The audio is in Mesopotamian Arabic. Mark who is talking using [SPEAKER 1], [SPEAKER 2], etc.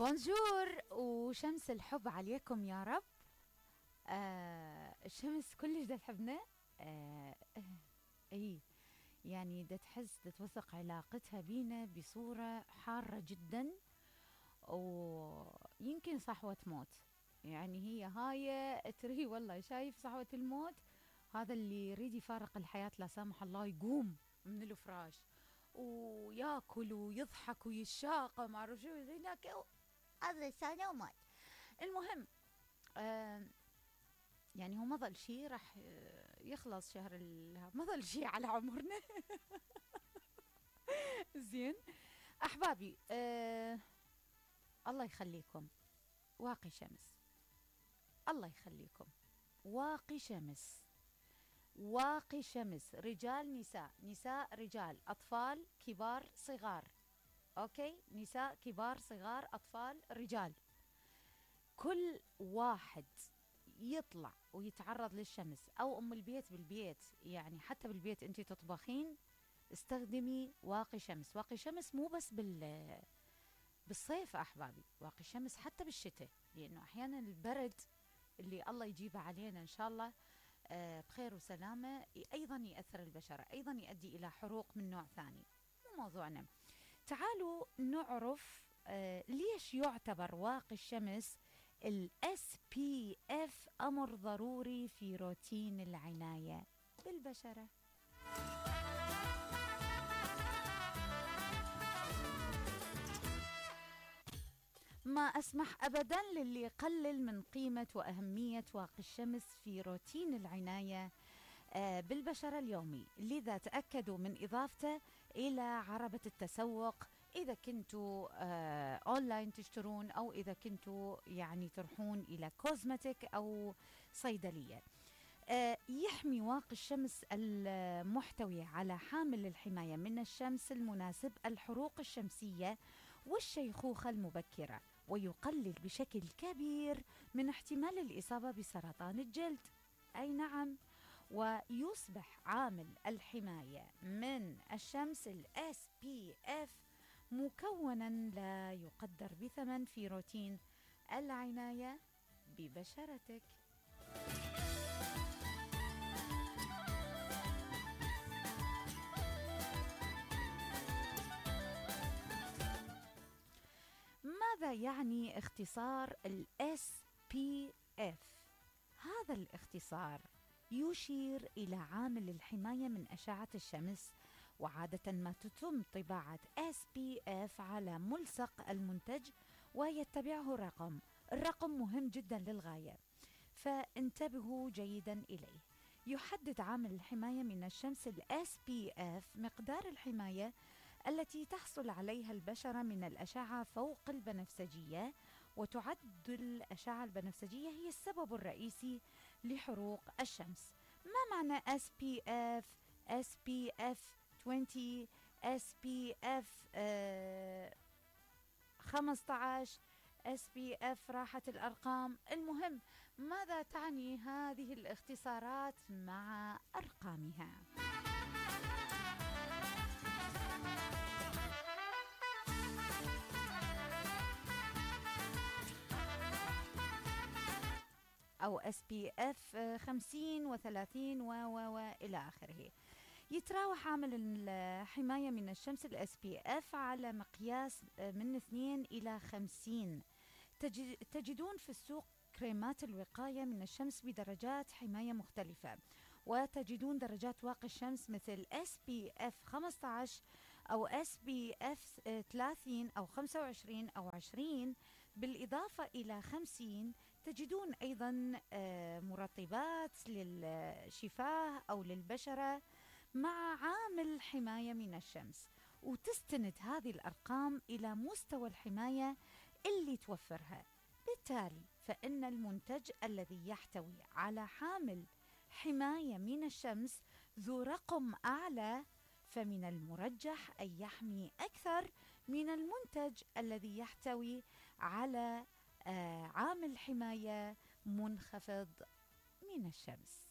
[SPEAKER 1] بونجور وشمس الحب عليكم يا رب. الشمس كلش دا تحبنا. اي يعني دا تحس دا توثق علاقتها بينا بصورة حارة جدا، ويمكن صحوة موت. يعني هي هاي تري والله شايف صحوة الموت، هذا اللي يريد يفارق الحياة لا سامح الله يقوم من الفراش وياكل ويضحك ويشاق ما اعرف شو هناك، هذا سنة ومات. المهم يعني هو ما ظل شيء، راح يخلص شهر ما ظل شيء على عمرنا. زين احبابي، الله يخليكم واقي شمس، الله يخليكم واقي شمس، واقي شمس، رجال نساء، نساء رجال، أطفال كبار صغار. أوكي، نساء كبار صغار أطفال رجال، كل واحد يطلع ويتعرض للشمس، أو أم البيت بالبيت، يعني حتى بالبيت أنتي تطبخين استخدمي واقي شمس. واقي شمس مو بس بالصيف أحبابي، واقي شمس حتى بالشتاء، لأنه أحيانا البرد اللي الله يجيبه علينا إن شاء الله بخير وسلامة أيضا يأثر البشرة، أيضا يؤدي إلى حروق من نوع ثاني. مو موضوعنا. تعالوا نعرف ليش يعتبر واقي الشمس ال SPF أمر ضروري في روتين العناية بالبشرة. ما أسمح أبدا للي يقلل من قيمة وأهمية واقي الشمس في روتين العناية بالبشرة اليومي، لذا تأكدوا من إضافته إلى عربة التسوق إذا كنتوا أونلاين تشترون، أو إذا كنتوا يعني تروحون إلى كوزمتيك أو صيدلية. يحمي واقي الشمس المحتوي على حامل الحماية من الشمس المناسب الحروق الشمسية والشيخوخة المبكرة، ويقلل بشكل كبير من احتمال الإصابة بسرطان الجلد. أي نعم، ويصبح عامل الحماية من الشمس ال SPF مكونا لا يقدر بثمن في روتين العناية ببشرتك. ماذا يعني اختصار ال SPF؟ هذا الاختصار يشير إلى عامل الحماية من أشعة الشمس، وعادة ما تتم طباعة SPF على ملصق المنتج ويتبعه رقم. الرقم مهم جدا للغاية، فانتبهوا جيدا إليه. يحدد عامل الحماية من الشمس ال SPF مقدار الحماية التي تحصل عليها البشرة من الأشعة فوق البنفسجية، وتعد الأشعة البنفسجية هي السبب الرئيسي لحروق الشمس. ما معنى SPF؟ SPF 20، SPF 15، SPF راحت الأرقام. المهم، ماذا تعني هذه الاختصارات مع أرقامها؟ أو SPF 50 و30 وإلى آخره. يتراوح عامل الحماية من الشمس ال SPF على مقياس من 2 إلى 50. تجدون في السوق كريمات الوقاية من الشمس بدرجات حماية مختلفة، وتجدون درجات واقي الشمس مثل SPF 15 أو SPF 30 أو 25 أو 20. بالإضافة إلى 50 تجدون أيضا مرطبات للشفاه أو للبشرة مع عامل حماية من الشمس، وتستند هذه الأرقام إلى مستوى الحماية اللي توفرها. بالتالي فإن المنتج الذي يحتوي على حامل حماية من الشمس ذو رقم أعلى، فمن المرجح أن يحمي أكثر من المنتج الذي يحتوي على عامل حماية منخفض من الشمس.